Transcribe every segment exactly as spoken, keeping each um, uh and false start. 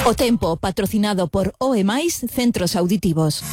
O tempo, patrocinado por O E Mais Centros Auditivos.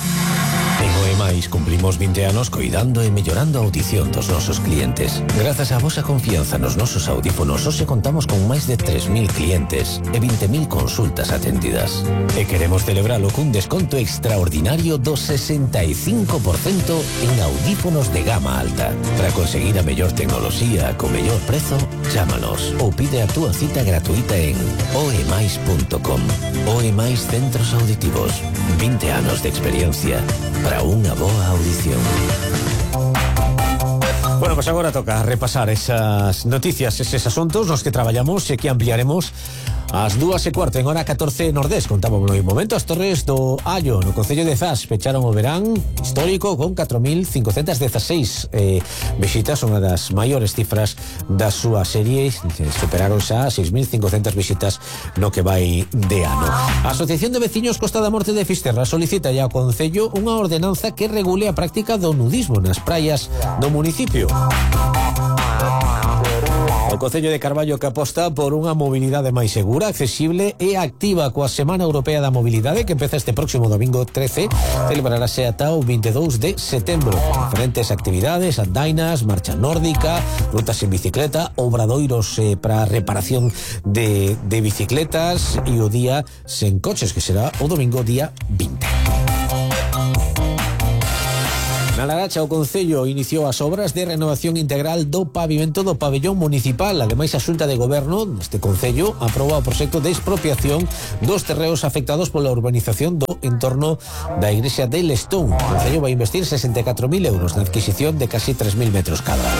En O E Mais cumplimos vinte anos coidando e mellorando a audición dos nosos clientes. Grazas á vosa confianza nos nosos audífonos, hoxe contamos con máis de tres mil clientes e vinte mil consultas atendidas. E queremos celebralo cun desconto extraordinario do sesenta e cinco por cento en audífonos de gama alta. Para conseguir a mellor tecnoloxía co mellor prezo, chámanos ou pide a túa cita gratuita en oemais punto com. O E Mais Centros Auditivos. vinte anos de experiencia para unha boa audición. Bueno, pues agora toca repasar esas noticias, eses asuntos nos que traballamos e que ampliaremos ás dúas e cuarto en hora catorce Nordés. Contábamos no momento as Torres do Allo no Concello de Zas pecharon o verán histórico con catro mil cincocentas dezaseis eh, visitas, unha das maiores cifras da súa serie. Superaron xa seis mil cincocentas visitas no que vai de ano. A Asociación de Veciños Costa da Morte de Fisterra solicita ya ao Concello unha ordenanza que regule a práctica do nudismo nas praias do municipio. O Concello de Carballo que aposta por unha mobilidade máis segura, accesible e activa coa Semana Europea da Mobilidade que empeza este próximo domingo trece, celebrarase ata o vinte e dous de setembro. Diferentes actividades, andainas, marcha nórdica, rutas en bicicleta, obradoiros eh, para reparación de, de bicicletas e o día sen coches, que será o domingo día vinte. Na Laracha, o Concello iniciou as obras de renovación integral do pavimento do pabellón municipal. Ademais, a Xunta de Goberno deste Concello aproba o proxecto de expropiación dos terreos afectados pola urbanización do entorno da igrexa de Lestón. O Concello vai investir sesenta e catro mil euros na adquisición de casi tres mil metros cadrados.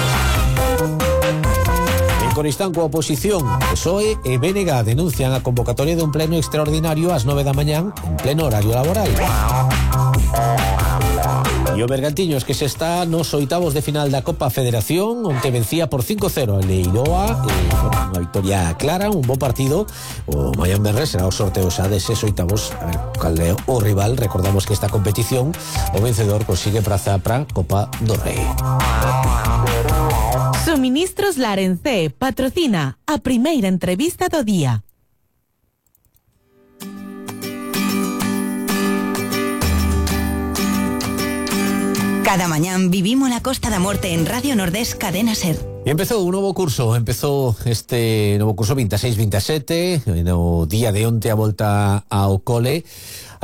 En Coristán, coa oposición, P S O E e B N G denuncian a convocatoria dun pleno extraordinario ás nove da mañán en pleno horario laboral. E o Bergantiños que se está nos oitavos de final da Copa Federación, onte vencía por cinco cero a Leiroa, e, bueno, unha victoria clara, un bo partido. O Mañán Benres será o sorteo xa deses oitavos, a ver cal é o rival. Recordamos que esta competición o vencedor consigue praza para Copa do Rei. Suministros Larencé patrocina a primeira entrevista do día. Cada mañán vivimos la Costa da Morte en Radio Nordés Cadena Ser. E empezou un novo curso, empezou este novo curso vinte e seis vinte e sete, no día de onte a volta ao cole.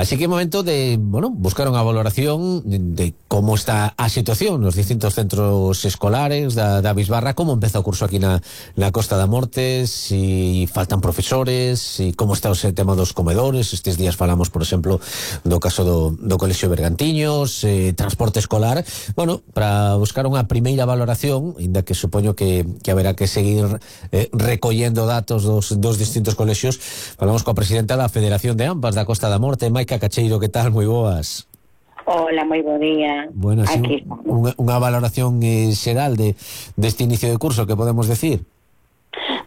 Así que é momento de, bueno, buscar unha valoración de, de como está a situación nos distintos centros escolares da, da Bisbarra, como empeza o curso aquí na, na Costa da Morte, si faltan profesores, si como está o tema dos comedores. Estes días falamos, por exemplo, do caso do, do Colexio Bergantiños, eh, transporte escolar. Bueno, para buscar unha primeira valoración, ainda que supoño que, que haberá que seguir eh, recollendo datos dos, dos distintos colexios, falamos coa presidenta da Federación de AMPAs da Costa da Morte, Maica Cacheiro. Que tal? Moi boas. Hola, moi bo día. Bueno, así aquí unha, unha valoración eh, xeral de deste inicio de curso, que podemos decir?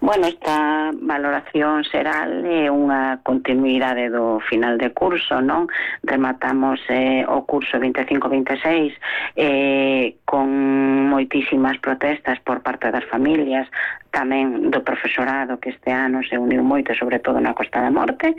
Bueno, esta valoración xeral é unha continuidade do final de curso, non? Rematamos eh, o curso vinte e cinco vinte e seis eh, con moitísimas protestas por parte das familias, tamén do profesorado, que este ano se uniu moito, sobre todo na Costa da Morte.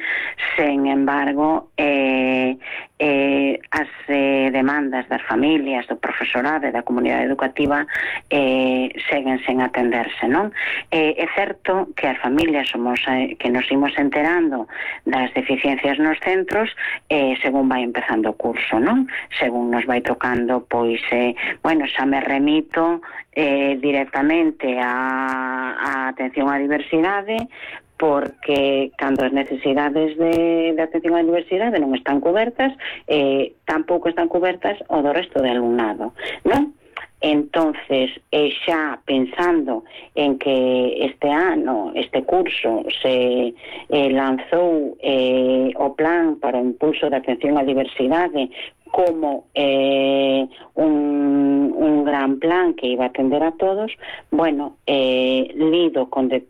Sen embargo, eh, eh, as eh, demandas das familias, do profesorado e da comunidade educativa eh, seguen sen atenderse, non? Eh, é certo que as familias somos eh, que nos imos enterando das deficiencias nos centros eh, según vai empezando o curso, non? Según nos vai tocando, pois, eh, bueno, xa me remito eh, directamente a a atención á diversidade, porque cando as necesidades de, de atención á diversidade non están cobertas, eh, tampouco están cobertas o do resto de alumnado, non? Entonces, eh, xa pensando en que este ano, este curso, se eh, lanzou eh, o plan para o impulso da atención á diversidade como eh, un, un gran plan que iba a atender a todos, bueno, eh, lido con de,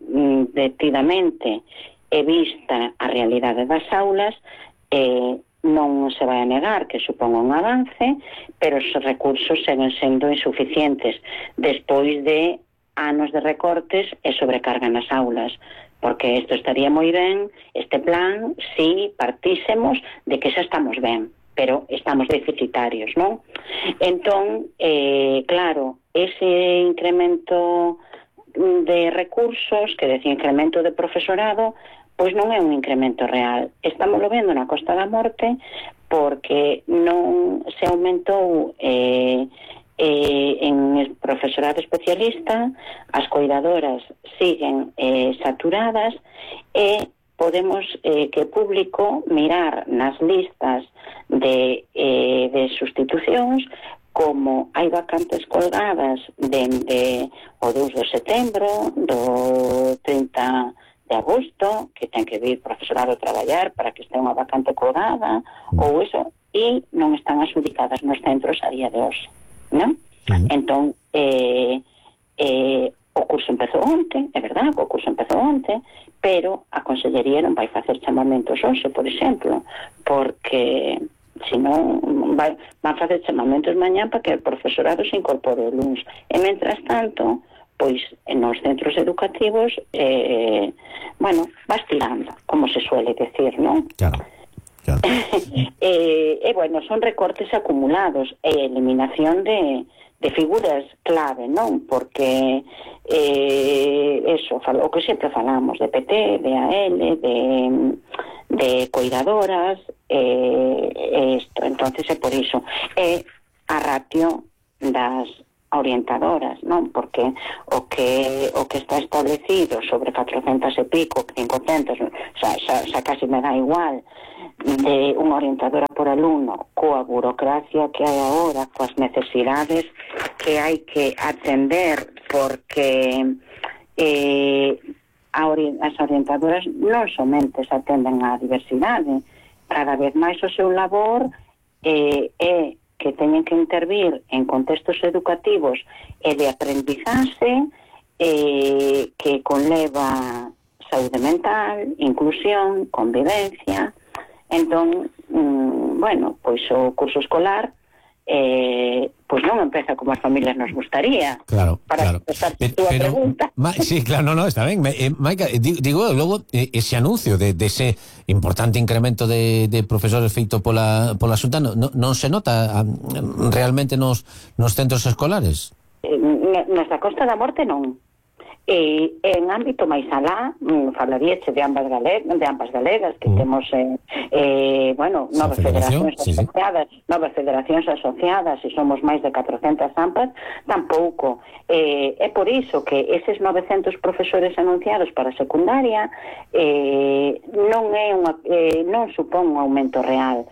detidamente e vista a realidade das aulas, eh, non se vai a negar que suponga un avance, pero os recursos seguen sendo insuficientes despois de anos de recortes e sobrecarga nas aulas, porque isto estaría moi ben, este plan, si partísemos de que xa estamos ben, pero estamos deficitarios, non? Entón, eh, claro, ese incremento de recursos, que decía incremento de profesorado, pois non é un incremento real. Estamos lo vendo na Costa da Morte porque non se aumentou eh, eh, en el profesorado especialista, as coidadoras siguen eh, saturadas e podemos eh, que público mirar nas listas de, eh, de sustitucións como hai vacantes colgadas dende o dous de setembro, do trinta de agosto, que ten que vir profesorado a traballar para que este unha vacante colgada, ou eso, e non están adjudicadas nos centros a día de hoxe, non? Uh-huh. Entón, eh, eh, o curso empezou onte, é verdad, o curso empezou onte, pero a Consellería non vai facer chamamentos hoxe, por exemplo, porque senón vai, van facer chamamentos mañá para que o profesorado se incorpore o luns. E, mentras tanto, pois, nos centros educativos, eh, bueno, vas tirando, como se suele decir, non? Claro, claro. e, e, bueno, son recortes acumulados e eliminación de, de figuras clave, non? Porque, eh, eso, o que sempre falamos, de P T, de A L, de... de coidadoras, eh, isto, entonces é por iso. É a ratio das orientadoras, non? Porque o que o que está establecido sobre catrocentas e pico, quinhentas, xa, xa, xa casi me dá igual, de unha orientadora por alumno, coa burocracia que hai agora, coas necesidades que hai que atender, porque eh, as orientadoras non somente se atenden á diversidade, cada vez máis o seu labor eh, é que teñen que intervir en contextos educativos e de aprendizaxe eh, que conleva saúde mental, inclusión, convivencia. Entón, mm, bueno, pois o curso escolar eh, pois non empeza como as familias nos gustaría. Claro, para claro. contestar Pero, túa pero, pregunta. Ma, sí, claro, no, no, está ben. Eh, Maica, digo, digo logo, eh, ese anuncio de, de ese importante incremento de, de profesores feito pola, pola Xunta, non, non se nota um, realmente nos, nos centros escolares? Eh, nesta Costa da Morte non. E en ámbito máis alá, mm, falaríache de ambas galegas, de ambas galegas que mm. temos eh, eh, bueno, novas federacións sí, asociadas, sí. novas federacións asociadas, e somos máis de catrocentas ampas, tampouco. Eh, é por iso que eses novecentos profesores anunciados para secundaria eh, non é unha, eh, non supón un aumento real,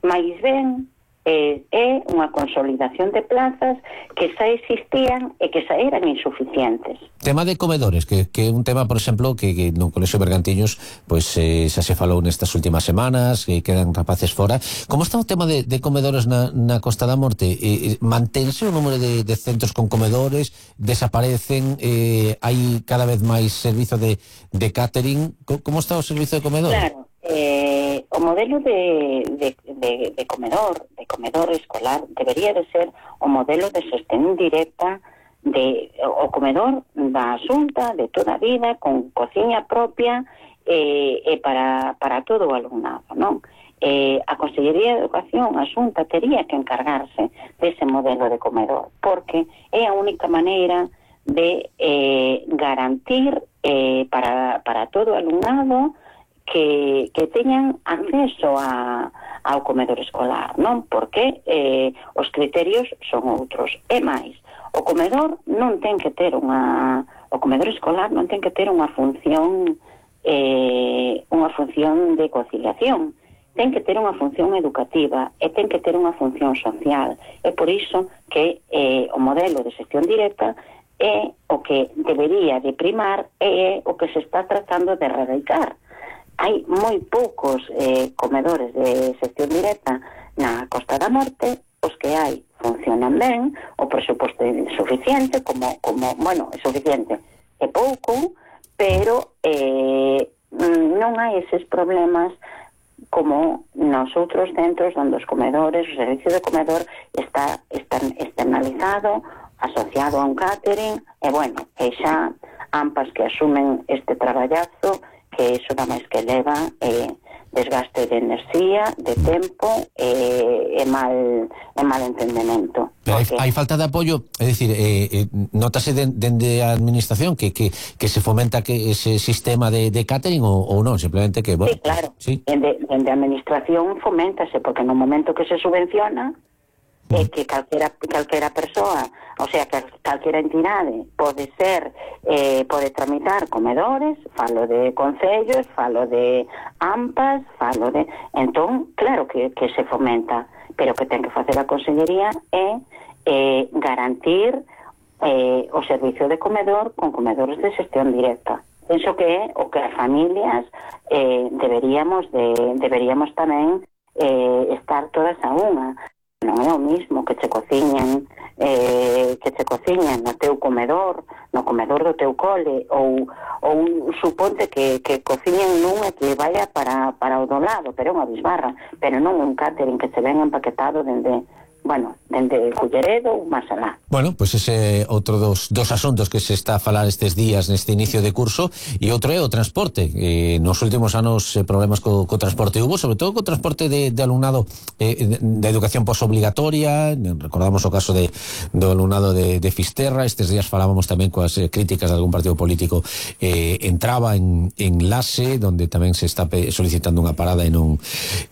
máis ben Eh, é unha consolidación de plazas que xa existían e que xa eran insuficientes. Tema de comedores, que, que é un tema, por exemplo, que, que no Colexio Bergantiños pois eh, xa se falou nestas últimas semanas, que quedan rapaces fora. Como está o tema de, de comedores na, na Costa da Morte? Eh, mantense o número de, de centros con comedores? Desaparecen? Eh, hai cada vez máis servizo de, de catering? Como está o servizo de comedores? Claro. Eh, o modelo de, de, de, de comedor, de comedor escolar, debería de ser o modelo de xestión directa de o comedor da Xunta de toda a vida, con cociña propia e eh, eh, para, para todo o alumnado, non? Eh, a Consellería de Educación, a Xunta, tería que encargarse dese modelo de comedor, porque é a única maneira de eh, garantir eh, para, para todo o alumnado que, que teñan acceso a, ao comedor escolar, non? Porque eh, os criterios son outros. E máis, o comedor non ten que ter unha... O comedor escolar non ten que ter unha función eh, unha función de conciliación. Ten que ter unha función educativa e ten que ter unha función social. É por iso que eh, o modelo de xestión directa é o que debería de primar e é o que se está tratando de erradicar. Hai moi poucos eh, comedores de xestión directa na Costa da Morte, os que hai funcionan ben, o presuposto é suficiente, como, como bueno, é suficiente, é pouco, pero eh, non hai eses problemas como nos outros centros onde os comedores, o servicio de comedor está, está externalizado asociado a un catering, e bueno, e xa ampas que asumen este traballazo, que iso da máis que leva eh, desgaste de enerxía, de tempo e, e mal e mal entendemento. Pero Porque... hai, hai falta de apoio, é dicir, eh, eh, notase dende de, de a administración que, que, que se fomenta que ese sistema de, de catering ou, ou non, simplemente que... Bueno, sí, claro, sí. Dende, dende a administración foméntase, porque no momento que se subvenciona é eh, que calquera, calquera persoa, o sea, que calquera entidade pode ser, eh, pode tramitar comedores, falo de concellos, falo de ampas, falo de... Entón, claro que, que se fomenta, pero que ten que facer a Consellería é eh, garantir eh, o servicio de comedor con comedores de xestión directa. Penso que é o que as familias eh, deberíamos de, deberíamos tamén eh, estar todas a unha. Non é o mismo que che cociñen eh, que che cociñen no teu comedor, no comedor do teu cole, ou, ou suponte que, que cociñen nun e que vaya para, para o do lado, pero é unha bisbarra, pero non un catering que se ven empaquetado dende, bueno, dende Culleredo ou máis alá. Bueno, pois pues ese outro dos, dos asuntos que se está a falar estes días neste inicio de curso, e outro é o transporte. Eh, nos últimos anos eh, problemas co, co transporte hubo, sobre todo co transporte de, de alumnado eh, de, de educación posobligatoria. Recordamos o caso de, do alumnado de, de Fisterra. Estes días falábamos tamén coas eh, críticas de algún partido político. Eh, entraba en, en Lase, donde tamén se está solicitando unha parada e non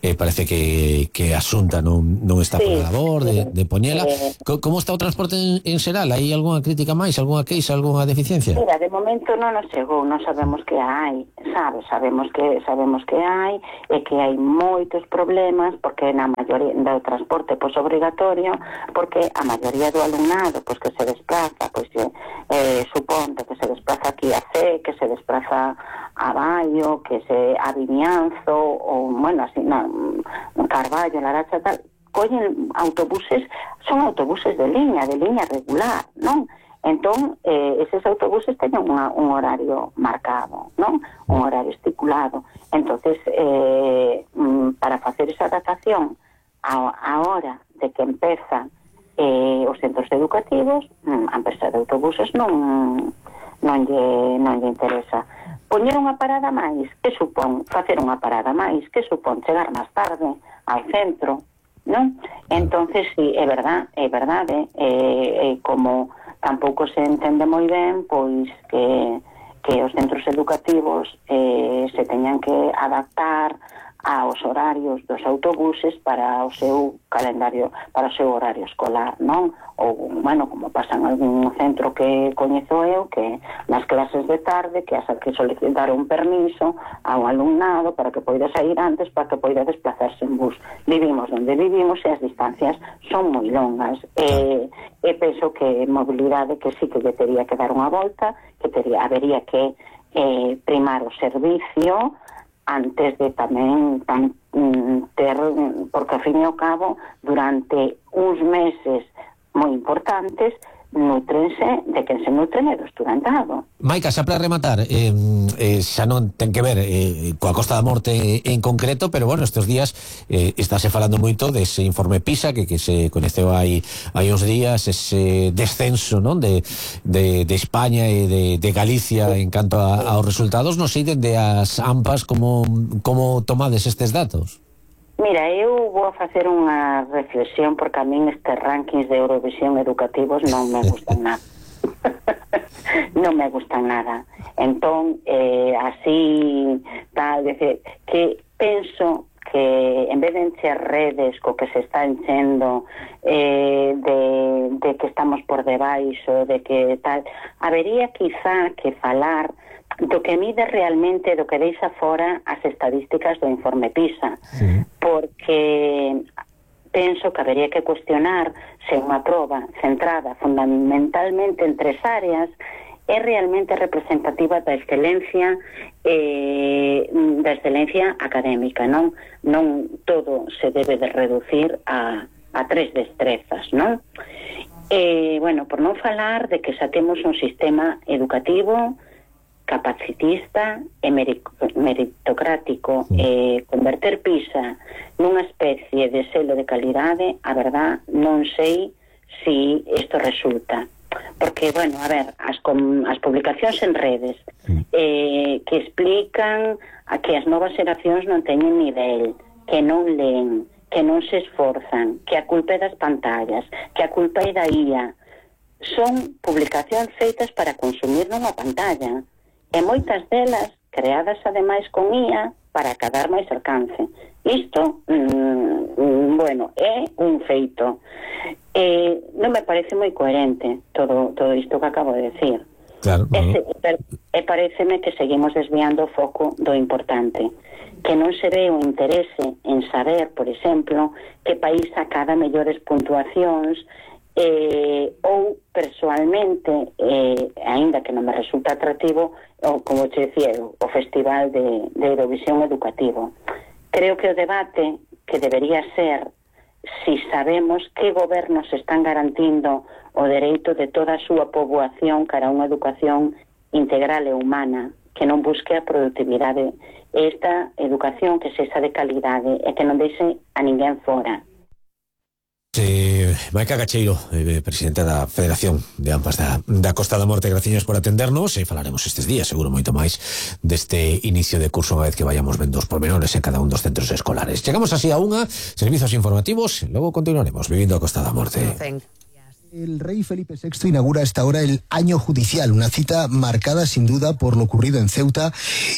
eh, parece que, que a Xunta non, non está sí. por a labor de, de poñela. Como está o transporte en, en xeral? Hai algunha crítica máis, algunha queixa, algunha deficiencia? Mira, de momento non nos chegou, non sabemos que hai, sabes, sabemos que sabemos que hai e que hai moitos problemas porque na maioría do transporte posobrigatorio, porque a maioría do alumnado pois que se desplaza, pois eh, suponte que se desplaza aquí a C, que se desplaza a Baio, que se a Vimianzo ou, bueno, así, non, Carballo, Laracha, tal, collen autobuses, son autobuses de liña, de liña regular, non? Entón, eh, eses autobuses teñen unha, un horario marcado, non? Un horario estipulado. Entonces, eh, para facer esa adaptación a, a hora de que empezan eh, os centros educativos, a empresa de autobuses non, non, lle, non lle interesa. Poñer unha parada máis, que supón? Facer unha parada máis, que supón? Chegar máis tarde ao centro, non? Entonces, sí, é verdad, é verdade, eh, eh, como tampouco se entende moi ben, pois que, que os centros educativos eh, se teñan que adaptar aos horarios dos autobuses para o seu calendario, para o seu horario escolar, non? Ou, bueno, como pasa en algún centro que coñezo eu, que nas clases de tarde que has que solicitar un permiso ao alumnado para que poida sair antes, para que poida desplazarse en bus. Vivimos onde vivimos e as distancias son moi longas. E, e penso que mobilidade que sí que lle tería que dar unha volta, que tería, habería que eh, primar o servicio antes de tamén tan, ter, porque ao fin e ao cabo durante uns meses moi importantes nutrense de quen se nutren é do estudantado. Maica, xa para rematar, eh, eh, xa non ten que ver eh, coa Costa da Morte en concreto, pero bueno, estes días eh, estáse falando moito dese informe PISA que, que se coñeceu hai, hai uns días, ese descenso, non, de, de, de España e de, de Galicia en canto a, aos resultados. Non sei dende as AMPAs como, como tomades estes datos. Mira, eu vou facer unha reflexión porque a min estes rankings de Eurovisión educativos non me gustan nada. Non me gustan nada. Entón, eh, así, tal, decir, que penso que en vez de encher redes co que se está enchendo eh, de, de que estamos por debaixo, de que tal, habería quizá que falar do que mide realmente, do que deixa fora as estadísticas do informe PISA, sí. Porque penso que habería que cuestionar se unha proba centrada fundamentalmente en tres áreas é realmente representativa da excelencia eh, da excelencia académica, non? Non todo se debe de reducir a, a tres destrezas, non? Eh, bueno, por non falar de que xa temos un sistema educativo capacitista e meritocrático, eh, converter PISA nunha especie de selo de calidade, a verdad non sei si isto resulta. porque, bueno, a ver, as, com, as publicacións en redes eh, que explican a que as novas xeracións non teñen nivel, que non leen, que non se esforzan, que a culpa é das pantallas, que a culpa é da I A, son publicacións feitas para consumir nunha pantalla, e moitas delas creadas ademais con I A para acadar máis alcance. Isto, mmm, bueno, é un feito. Eh, non me parece moi coherente todo todo isto que acabo de decir. Claro, no, e, e, e pareceme que seguimos desviando o foco do importante, que non se ve o interese en saber, por exemplo, que país acada mellores puntuacións, eh, ou persoalmente, eh, aínda que non me resulta atractivo, o, como te decía, o Festival de, de Eurovisión Educativo. Creo que o debate que debería ser si sabemos que gobernos están garantindo o dereito de toda a súa poboación cara a unha educación integral e humana, que non busque a productividade, esta educación que sexa de calidade e que non deixe a ninguén fora. Eh, Maica Gacheiro, eh, presidenta da Federación de Ampas da, da Costa da Morte, graciñas por atendernos e falaremos estes días, seguro moito máis deste inicio de curso unha vez que vayamos vendo os pormenores en cada un dos centros escolares. Chegamos así a unha, servizos informativos, e logo continuaremos vivindo a Costa da Morte. El rey Felipe sexto inaugura a esta hora el año judicial, una cita marcada sin duda por lo ocurrido en Ceuta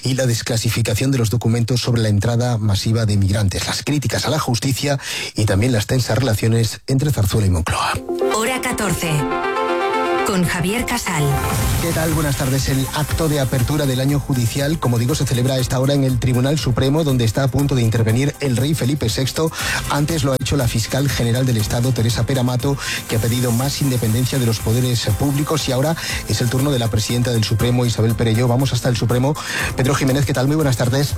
y la desclasificación de los documentos sobre la entrada masiva de migrantes, las críticas a la justicia y también las tensas relaciones entre Zarzuela y Moncloa. Hora catorce. Con Javier Casal. ¿Qué tal? Buenas tardes. El acto de apertura del año judicial, como digo, se celebra a esta hora en el Tribunal Supremo, donde está a punto de intervenir el rey Felipe sexto. Antes lo ha hecho la fiscal general del Estado, Teresa Pera Mato, que ha pedido más independencia de los poderes públicos, y ahora es el turno de la presidenta del Supremo, Isabel Perelló. Vamos hasta el Supremo. Pedro Jiménez, ¿qué tal? Muy buenas tardes.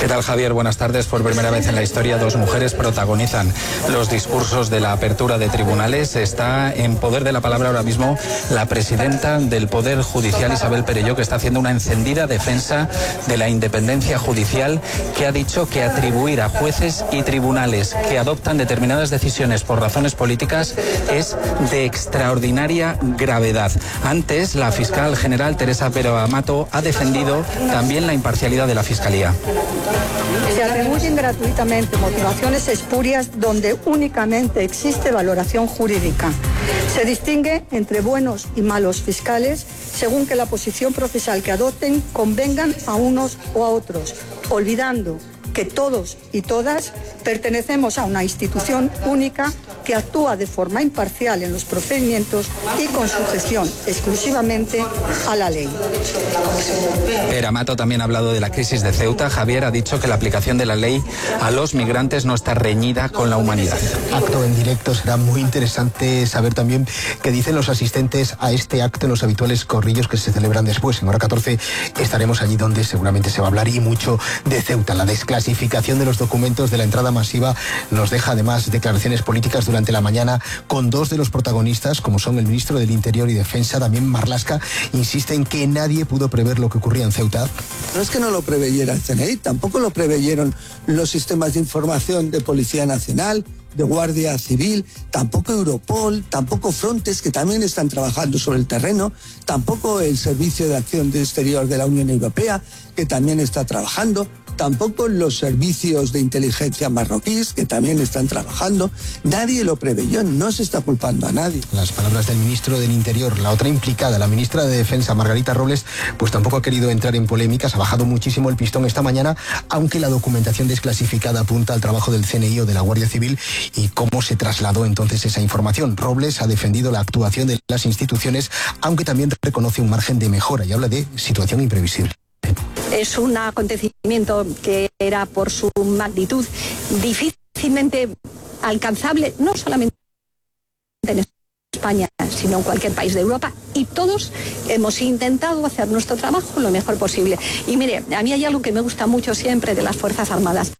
¿Qué tal, Javier? Buenas tardes. Por primera vez en la historia, dos mujeres protagonizan los discursos de la apertura de tribunales. Está en poder de la palabra ahora mismo la presidenta del Poder Judicial, Isabel Perelló, que está haciendo una encendida defensa de la independencia judicial, que ha dicho que atribuir a jueces y tribunales que adoptan determinadas decisiones por razones políticas es de extraordinaria gravedad. Antes, la fiscal general Teresa Pera Mato ha defendido también la imparcialidad de la Fiscalía. Se atribuyen gratuitamente motivaciones espurias donde únicamente existe valoración jurídica. Se distingue entre buenos y malos fiscales según que la posición procesal que adopten convengan a unos o a otros, olvidando que todos y todas pertenecemos a una institución única que actúa de forma imparcial en los procedimientos y con sujeción exclusivamente a la ley. Pera Mato también ha hablado de la crisis de Ceuta. Javier ha dicho que la aplicación de la ley a los migrantes no está reñida con la humanidad. Acto en directo, será muy interesante saber también qué dicen los asistentes a este acto en los habituales corrillos que se celebran después. En hora catorce estaremos allí donde seguramente se va a hablar y mucho de Ceuta. La desclasificación de los documentos de la entrada masiva nos deja además declaraciones políticas durante la mañana con dos de los protagonistas, como son el ministro del Interior y Defensa, Damián Marlaska, insiste en que nadie pudo prever lo que ocurría en Ceuta. No es que no lo preveyera el C N I, tampoco lo preveyeron los sistemas de información de Policía Nacional, de Guardia Civil, tampoco Europol, tampoco Frontex, que también están trabajando sobre el terreno, tampoco el Servicio de Acción Exterior de la Unión Europea, que también está trabajando, tampoco los servicios de inteligencia marroquíes, que también están trabajando. Nadie lo preveyó, no se está culpando a nadie. Las palabras del ministro del Interior. La otra implicada, la ministra de Defensa, Margarita Robles, pues tampoco ha querido entrar en polémicas, ha bajado muchísimo el pistón esta mañana, aunque la documentación desclasificada apunta al trabajo del C N I o de la Guardia Civil y cómo se trasladó entonces esa información. Robles ha defendido la actuación de las instituciones, aunque también reconoce un margen de mejora y habla de situación imprevisible. Es un acontecimiento que era por su magnitud difícilmente alcanzable, no solamente en España, sino en cualquier país de Europa, y todos hemos intentado hacer nuestro trabajo lo mejor posible. Y mire, a mí hay algo que me gusta mucho siempre de las Fuerzas Armadas.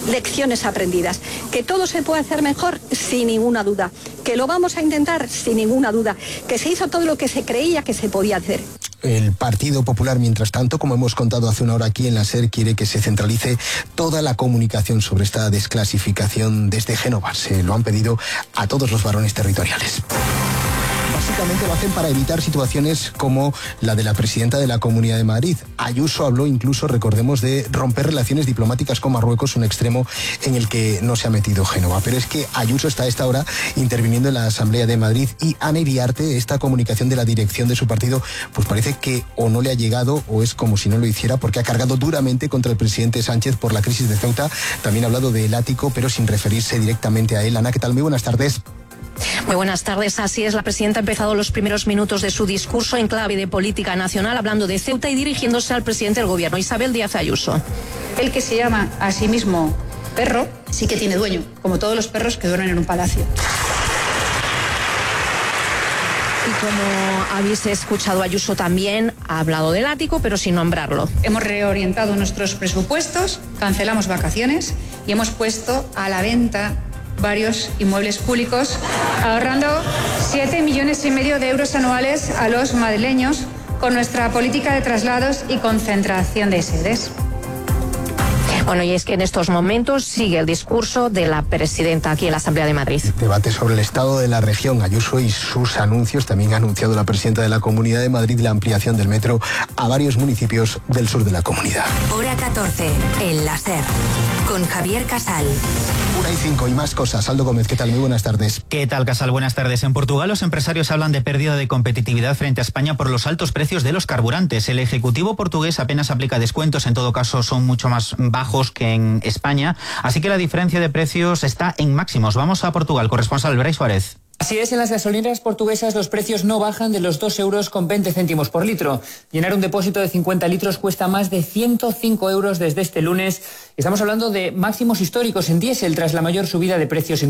Lecciones aprendidas, que todo se puede hacer mejor sin ninguna duda, que lo vamos a intentar sin ninguna duda, que se hizo todo lo que se creía que se podía hacer. El Partido Popular, mientras tanto, como hemos contado hace una hora aquí en la SER, quiere que se centralice toda la comunicación sobre esta desclasificación desde Génova. Se lo han pedido a todos los varones territoriales. básicamente lo hacen para evitar situaciones como la de la presidenta de la Comunidad de Madrid. Ayuso habló incluso, recordemos, de romper relaciones diplomáticas con Marruecos, un extremo en el que no se ha metido Génova. Pero es que Ayuso está a esta hora interviniendo en la Asamblea de Madrid y Ana Iriarte, esta comunicación de la dirección de su partido, pues parece que o no le ha llegado o es como si no lo hiciera, porque ha cargado duramente contra el presidente Sánchez por la crisis de Ceuta. También ha hablado del ático, pero sin referirse directamente a él. Ana, ¿qué tal? Muy buenas tardes. Muy buenas tardes. Así es, la presidenta ha empezado los primeros minutos de su discurso en clave de política nacional, hablando de Ceuta y dirigiéndose al presidente del gobierno, Isabel Díaz Ayuso. El que se llama a sí mismo perro sí que tiene dueño, como todos los perros que duermen en un palacio. Y como habéis escuchado, Ayuso también ha hablado del ático, pero sin nombrarlo. Hemos reorientado nuestros presupuestos, cancelamos vacaciones y hemos puesto a la venta varios inmuebles públicos, ahorrando siete millones y medio de euros anuales a los madrileños con nuestra política de traslados y concentración de sedes. Bueno, y es que en estos momentos sigue el discurso de la presidenta aquí en la Asamblea de Madrid. Debate sobre el estado de la región. Ayuso y sus anuncios. También ha anunciado la presidenta de la Comunidad de Madrid la ampliación del metro a varios municipios del sur de la comunidad. Hora catorce, en la SER, con Javier Casal. Una y cinco y más cosas. Aldo Gómez, ¿qué tal? Muy buenas tardes. ¿Qué tal, Casal? Buenas tardes. En Portugal los empresarios hablan de pérdida de competitividad frente a España por los altos precios de los carburantes. El Ejecutivo portugués apenas aplica descuentos, en todo caso son mucho más bajos que en España, así que la diferencia de precios está en máximos. Vamos a Portugal, corresponsal Brais Suárez. Así es, en las gasolineras portuguesas los precios no bajan de los dos euros con veinte céntimos por litro. Llenar un depósito de cincuenta litros cuesta más de ciento cinco euros desde este lunes. Estamos hablando de máximos históricos en diésel tras la mayor subida de precios en